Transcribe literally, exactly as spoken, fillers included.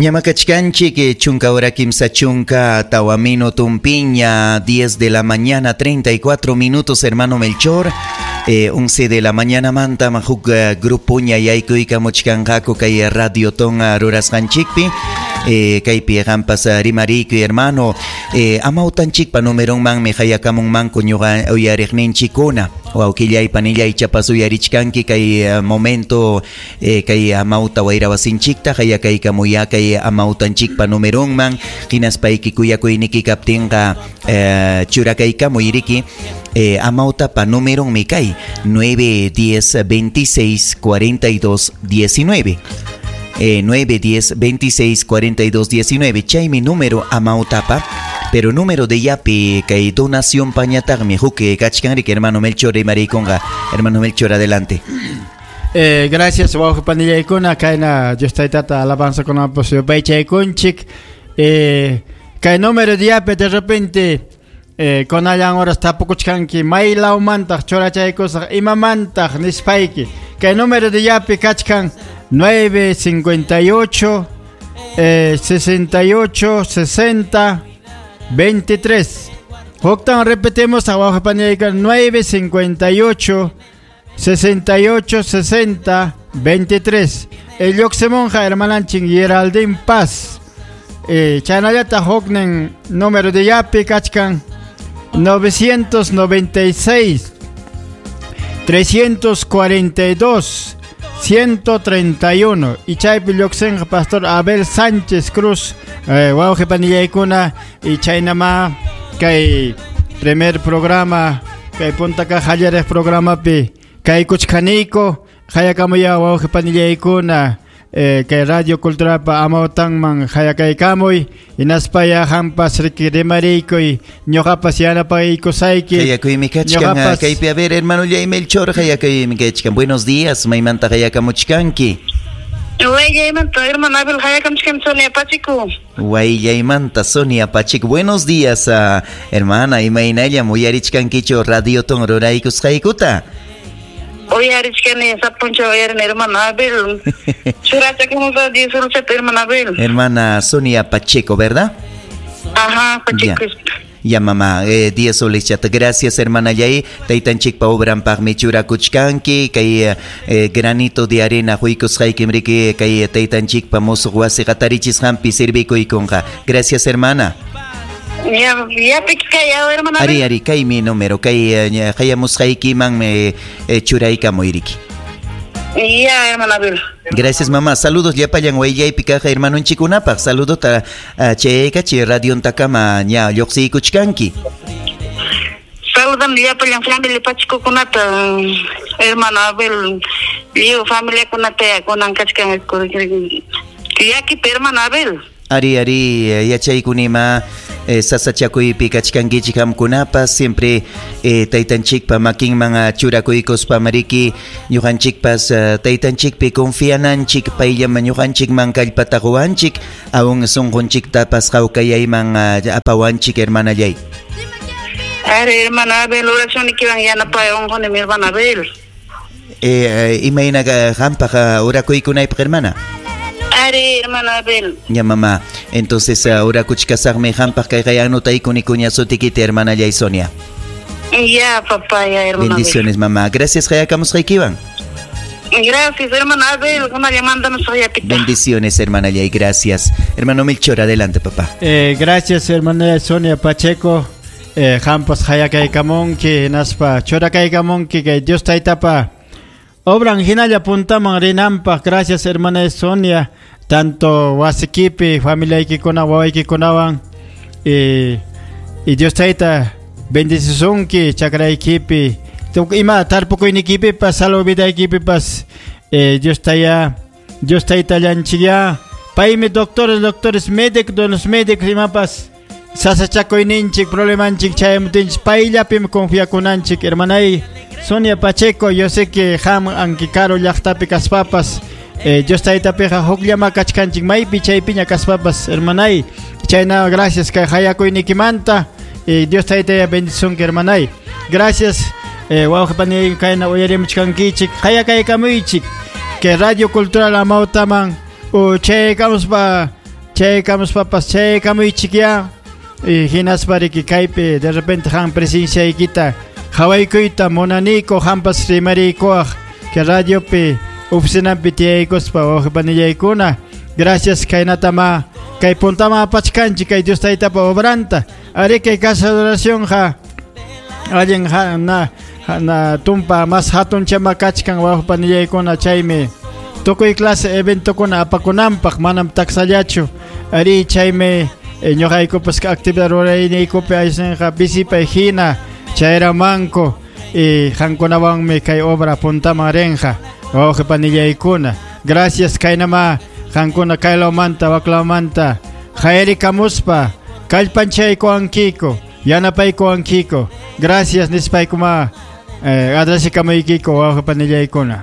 Ñamakachkanchik chunka hora kimsa chunka tawa minutumpiña, diez de la mañana treinta y cuatro minutos, hermano Melchor. Eh, once de la mañana manta majuk uh, grupo ña yaykuykamuchkanqaku kay Radio Ton rurasqanchikpi. Eh, kaypi qampas rimariykuy hermano. Eh, amawtanchikpa numeronmanmi hayakamunmanku ñuqa uyariqninchikkuna. Wawqillay panillay chapas uyarichkanki kay uh, momento eh, kay amawta wayrawasinchikta hayakaykamuya kay amawtanchikpa numeronman hinaspayki kuyakuyniki kaptinqa eh, churakaykamuy riki. Eh, amawtapa numeronmi kay nueve diez veintiséis cuarenta y dos diecinueve. Eh, nueve diez veintiséis cuarenta y dos diecinueve. Chaymi número amautapa, pero número de yapi kay donación pañataqmi huk kachkanriki hermano Melchor rimarikunqa. Hermano Melchor, adelante. Eh, gracias wawqi panillaykuna kayna Dios taytata alabanza kunapas yupaychaykunchik. Eh, kay número de yapi de repente eh, kunallan horas tapukuchkanki maylawmantaq churachaykusaq imamantaq nispayki. Kay número de yapi kachkan nueve cincuenta y ocho eh, sesenta y ocho sesenta veintitrés. Huktan repetimos abajo panillayka nueve cincuenta y ocho sesenta y ocho sesenta veintitrés. El Yoxemonja hermananchin Geraldine Paz. Eh, chanallata huknen número de yapi kachkan novecientos noventa y seis trescientos cuarenta y dos ciento treinta y uno. Y chaypi lluqsinqa Pastor Abel Sánchez Cruz, eh, wawqi panillaykuna y chaynama kay primer programa kay punta kaq qallariq programapi kaykuchkaniyku hayakamuya wawqi panillaykuna eh, kay Radio Culturalpa amawtanman hayakaykamuy hinaspaya qampas riki rimariykuy ñuqapas yanapaykusayki. Hayakuymi kachkan kaypi. A ver, hermano Melchor, hayakuymi kachkan. Buenos días, maymanta hayakamuchkanki. Huayllamanta, hermano Abel, hayakamuchkan Sonia Pacheco. Huayllamanta, Sonia Pacheco. Buenos días, uh, hermana, imaynallam uyarichkankichu Radio Ton ruraykusqaykuta. Uyarichkani sapuncha uyarini hermano Abel. Churachakamusa diez solchata hermano Abel. Hermana Sonia Pacheco, ¿verdad? Ajá, Pacheco. Ya, ya mamá, eh, diez soles chata. Gracias, hermana Yay. Taytanchikpa obranpaqmi churakuchkanki kay eh, granito de arena huykusqaykim riki kay taytanchikpa musuq wasi qatarichisqanpi sirvikuykunqa. Gracias, hermana. Ya, ya kay hermana. Ari, ari, kay mi número, kay hayamusqaykiman me eh, churaykamuyriki. Ya, hermana Abel. Gracias, mamá. Saludos llapallan huayllaypi kaq hermanunchikunapaq. Saludota uh, chaykachi radiontakama ña lluqsiykuchkanki. Saludan llapallan familia Pachecokunata, hermano Abel, lliw familiakunata kunan kachkan llakipi hermano Abel. Ari, ari, yachaykunima eh, sasachakuypi kachkankichik qamkunapas siempre eh, taytanchikpa makinman churakuykuspa mariki ñuqanchikpas uh, taytanchikpi confiananchik payllaman ñuqanchikman kallpata quwanchik aún sunqunchiktapas hawkayayman uh, apawanchik hermanallay. Ari, hermano Abel, oracionikiwan yanapay unquni mi hermano Abel. Eh, eh, imayna qampaq orakuykunaypaq hermana. Ari, hermano Abel. Ya, mamá. Entonces, ahora kuchkasaqmi qampaq kay kay anotaykuña sutikita, hermana Yay Sonia. Ya, papá, ya, hermano. Bendiciones, Abel. Mamá. Gracias, hayakamusqaykiwan. Gracias, hermano Abel. Bendiciones, hermana Yay. Gracias. Hermano Melchor, adelante, papá. Eh, gracias, hermana Sonia Pacheco. Eh, qampas hayakaykamunki, hinaspa churakaykamunki kay Dios taytapa obran hinalla puntaman rinanpaq. Gracias, hermana Sonia. Tanto wasikipi, familiaykikuna, wawaykikunawan y, y Dios tayta bendicisunki chakraykipi ima tarpukuynikipipas salud vidaykipipas eh, Dios taya Dios taytallanchikya paymi doctores doctores médicos de los médicos imapas sasachakuyninchik problemanchik chayamutinchik payllapim confiakunanchik. Hermanay Sonia Pacheco, yo sé que qam anki karu llaqtapi kaspapas Eh, Dios taytapiqa hukllama kachkanchik maypi chaypiña kaspapas hermanay. Chayna gracias kay hayakuynikimanta. Eh, Dios taytaya bendisunki hermanay. Gracias eh, wawqi paniyay kayna uyarimuchkankichik hayakaykamuychik que Radio Cultural amawtaman o chaykamuspa Chaykamuspapas chaykamuychikya y hinaspa riki kaypi de repente han presenciaykita hawaykuyta munaniku hampas rimariykuwaq que radiopi oficinampi tiyaykuspa wawqipanillaykuna. Gracias kaynatama kay puntama apachkanchik kay Dios taytapa obranta. Ari kay casa de oración ja allin ja na na tumpa mas hatun chama kachkan wawqipanillaykuna chaymi tukuy clase eventokuna apakunanpaq manam taksallachu. Ari chaymi eh, ñuqaykupas actividad rurayniykupi aysinqa visipay hina chayramanku y qankunawanmi kay obra puntaman rinqa wawqipanillaykuna. Gracias kaynama qankuna kaylawmanta waklawmanta hayrikamuspa kallpanchaykuwankiku yanapaykuwankiku. Gracias nispaykuma eh, agradecikamuykiko wawqipanillaykuna.